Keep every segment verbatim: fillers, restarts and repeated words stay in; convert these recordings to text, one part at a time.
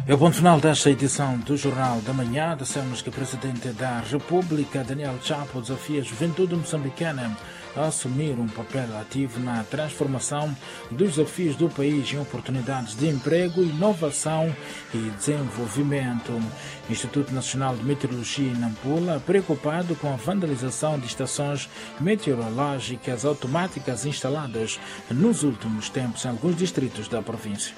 E ponto final desta edição do Jornal da Manhã, dissemos que o Presidente da República, Daniel Chapo, desafia a juventude moçambicana a assumir um papel ativo na transformação dos desafios do país em oportunidades de emprego, inovação e desenvolvimento. Instituto Nacional de Meteorologia em Nampula, preocupado com a vandalização de estações meteorológicas automáticas instaladas nos últimos tempos em alguns distritos da província.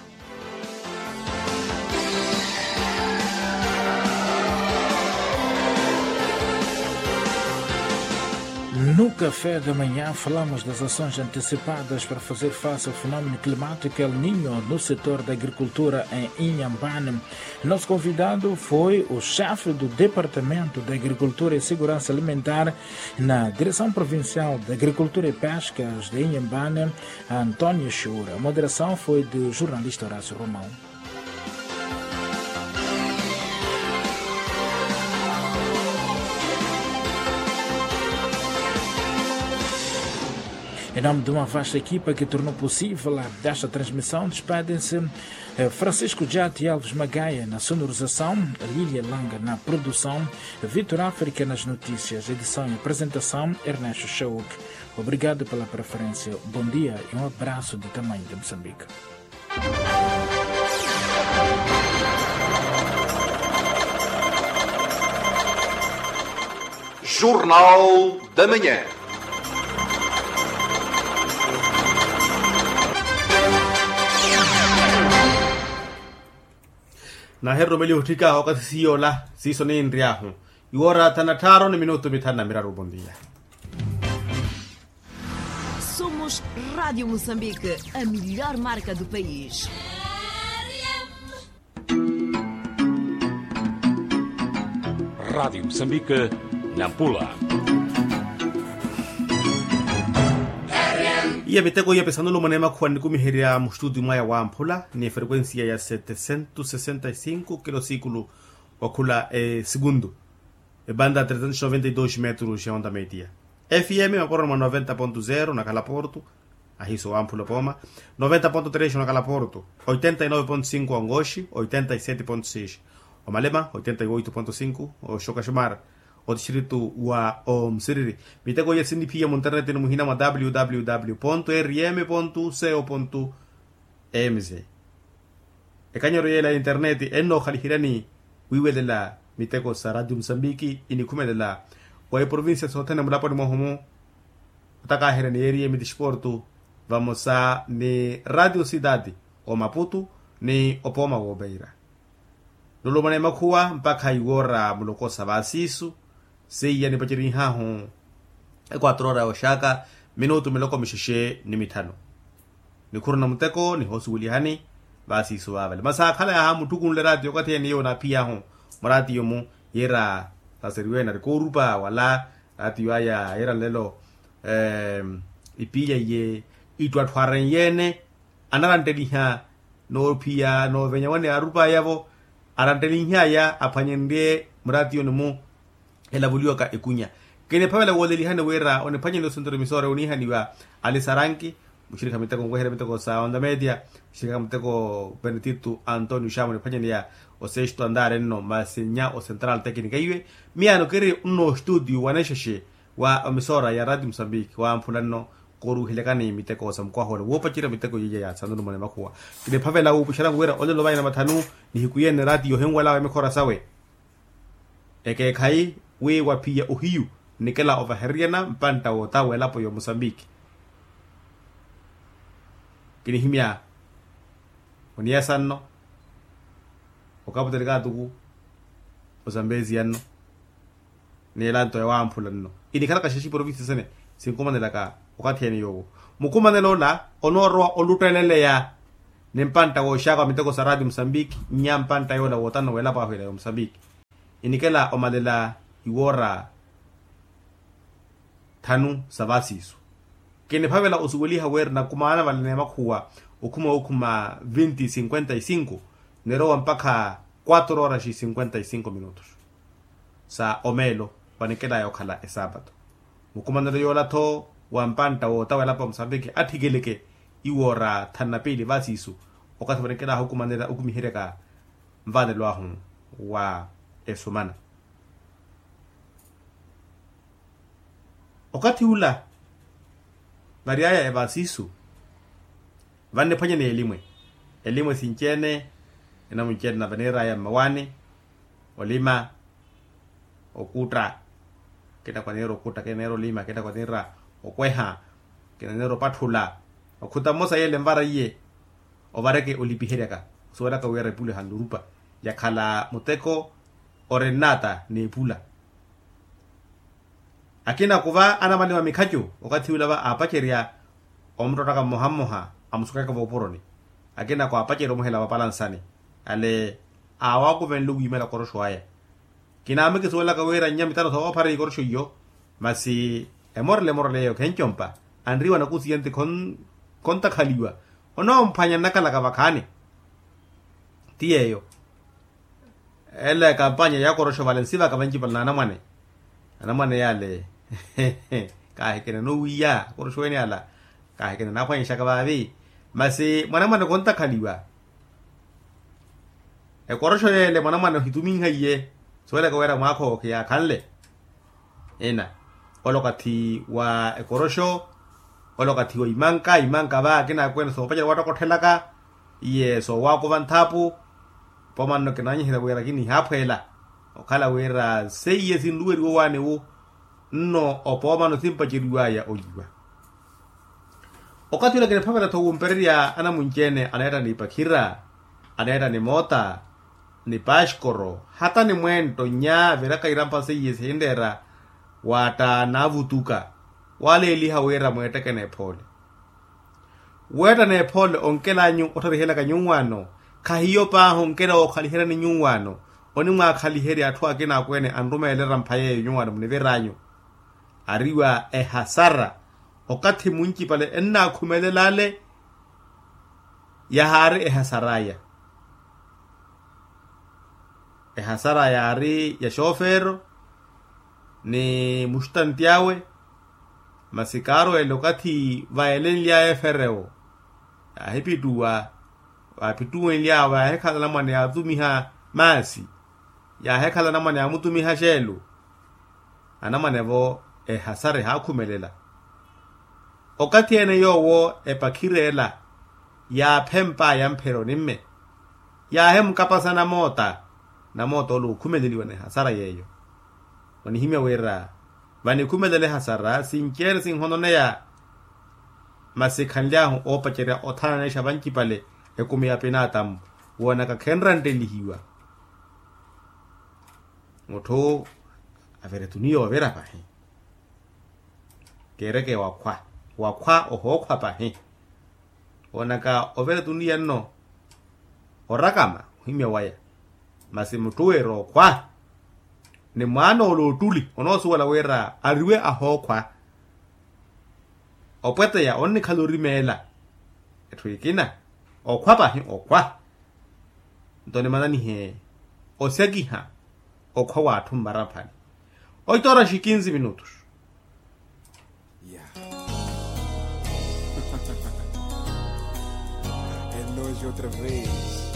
No Café da Manhã, falamos das ações antecipadas para fazer face ao fenômeno climático El Niño no setor da agricultura em Inhambane. Nosso convidado foi o chefe do Departamento da Agricultura e Segurança Alimentar na Direção Provincial da Agricultura e Pescas de Inhambane, António Chura. A moderação foi do jornalista Horácio Romão. Em nome de uma vasta equipa que tornou possível esta transmissão, despedem-se, eh, Francisco Jati Alves Magaia na sonorização, Lília Langa na produção, Vitor África nas notícias, edição e apresentação, Ernesto Chauk. Obrigado pela preferência, bom dia e um abraço de tamanho de Moçambique. Jornal da Manhã. Nahererumeliha otthikaahu okathi siiyola siiso ninry'ahu iwoora thanu na tthaaru ni minutu mithanu na miraru. Bom dia. Somos Rádio Moçambique, a melhor marca do país. Rádio Moçambique, Nampula. Iya miteko iya pisanulu mwaneemakhuwa nikumiherya mustutio mwaya wamphula ni efrekwensiya ya setecentos sessenta e cinco kilosikulo, wakhula esikuntu, ebanda trecentos noventa e dos metros ya onda media. F M maporoni mwa noventa ponto zero onakhala porto, ahiso wamphula opooma, noventa ponto tres onakhala porto, oitenta e nove ponto cinco ongoxi, oitenta e sete ponto seis omalema, oitenta e oito ponto cinco oxokaxomar, otistrito wa omusiriri. Miteko iya siniphiya munterneti ni muhina mwa www rm co mz. Ekanyero yeela ya internet ennookhaliheryani wiiwelela miteko sa radio musambiki inikhumelela wa eprovincia sothene mulaponi mwahu-mu. Otakaherya ni yeeriye mitixiportu vamosa ni radio cidade, omaputu ni opooma woopeira. Nulumana emakhuwa mpakha iwoora mulokosa vaasiisu. Seiya nipacerihahu equatro ora ya oxaaka minutu miloko mixexe ni mithanu. Nikhuruna muteko nihoosuwelihani. Vaasiisu vaavale masi akhala yaaha mutthukunle raatiyo okathi ene iyo naaphiyahu muraatiyo-mu, yiira saseriwene ari koorupa wala raatiyo aya yiira nlelo ipiiya iye ittwatthu arenyeene. Anarantteliha noophiya noovenya wane aarupayavo. Aranttelinhaya aphwanyenrye muraatiyoni-mu elavuliwaka ekunya. Kiniphavela woolelihani wira oniphwanyeni osentro emisora oniihaniwa alisaranki muxirikha miteko nweherya miteko sa onda media, muxirikha miteko benedicto antonio xamu oniphwanyeneya osesto andare nno masi nya ocentral tecnica iwe. Miyaano kiri nno ostudio wanexexe wa omisora ya radio musambiki wamphula nno. Kooruuhelekani miteko sa mukwaha ole woopacerya miteko yiiya ya sanulumana emakhuwa. Kiniphavela wuupuxeranku wira olelo vaya na mathanu nihiku yene raatiyo ohinwalawe mikhora sawe. Ekeekhayi wi waphiya ohiyu nnikela ovahereryana mpantta woota w'elapo ya omusambiki. Kinihimya oniyasa nno okaputali kaatuku osambezia nno. Ni elanto ya wamphula nno inikhalaka xexe iprovincia sene. Sinkumanelaka okathi ene yoowo mukumanela ola onoorowa olutteleleya ni mpantta wooxaaka wa miteko sa radio musambiki nnya mpantta yoola wootano w'elapo ahu ela ya omusambiki. Inikela omalela iwoora thanu sa vaasiisu. Kiniphavela osuweliha wira nakumaana vale n'emakhuwa okhuma okhuma vinti cinquenta e cinco nirowa mpakha quatro horas e cinquenta e cinco minutos sa omeelo vanikelaya okhala esapato. Mukumanelo yoola-tho wa mpantta woota w'elapo ya musambiki atthikeleke iwoora thanu na piili vaasiisu okathi vanikelaya okumanela okumiheryaka nvanelo ahu wa esumana. Okathi ula vary'aya evaasisu vanniphwanya n'elimwe. Elimwe sinci-ene enamunci-ene na vaniir'aya mmawaani olima, okutta, akina kwaniira okutta akina aniira olima akina kwaniira okweha akina aniira opatthula. Okhuta mmosa yeele envara iye ovareke olipiheryaka osuwelaka wira epula ehannurupa yakhala muteko ori nnaata n'epula. Akina kuva anamaliwa mikhacu okathi ula va aapacerya omuttottaka mmoha mmoha amusukaka voopuroni. Akina kwaapacerya omuhela vapalansani ale aawakuvenle wiimela koroxo aya. Kinaame kisuwelaka wira nnya mitano soophara ikoroxo iyo. Masi emorele emorele eyo khencompa anriwa nakusiya nti khontakhaliwa onoomphwanya nnakalaka vakhaani. Ti yeeyo ela ekampanya ya koroxo vale nsivaka vancipale n'anamwane. Anamwane yale kaahikene nowiiya koroxo ene ala kaahikene naaphwanyexaka vaavi. Masi mwanamwane khontakhaliwa ekoroxo yeele mwanamwane ohituminhaiye suwelaka wira mwaakha owo khiyaakhanle. Ina ole okathi wa ekoroxo ole okathi wa imanka imanka va akina akweene soopacerya waattokotthelaka iye soowakuva nthaapu. Opooma nno kinaanyihela wira kinihaphweela okhala wira seiye sinluweriwa owaani wu nno opooma nno simpaceriwaya oyiwa. Okathi ula kiniphavela-tho wumpererya anamunci-ene aneetta ni pakhira aneetta ni moota ni paskoro hata ni mwento nnya viraka irampha seiye sihinreera waatta naavutuka waleeliha wira mweetteke n'ephoole. Weetta n'ephoole onkelanyu ottharihelaka nyuwaano khahiyo paahi onkela wookhaliheryani nyuwaano onimwaakhaliherya atthu akina akweene anrumeela erampha yeeyo nyuwaano muniviranyu. Ariwa ehasara okathi muncipale ennakhumelela ale yahaari ehasaraya. Ehasaraya yaari ya xoofero ni mustanti awe. Masi kaarweele okathi vayelenly'aya eferewo yaahipittuwa vaapittuwenly'awe vaahekhala anamwane yaatumiha maasi yaahekhala anamwane yaamutumiha xeelu. Anamwane-vo ehasara ehaakhumelela okathi ene yoowo epakhira ela yaaphempaya mphero nimme yaahemukapasa namoota. Namoota ole ookhumeleliwa n'ehasara yeeyo onihimya wira vanikhumelela ehasara sinci-ene sinhononeya. Masi khanly'ahu oopacerya othananexa vancipale ekumi ya pinaatamu woonaka khenranttelihiwa. Mutthu avire tuniya ovira pahi keereke wakhwa wakhwa ohookhwa pahi. Woonaka ovira tuniya nno orakama ohimya waya. Masi mutthu wira okhwa ni mwaana ole ottuli onoosuwela wira ariwe ahookhwa. Opweteya onnikhala orimeela etthu ekina okhwa pahi okhwa. Nto nimananihe osyakiha okhwa w'atthu mmaramphani. Oito horas e quinze minutos. Eloji otra vez.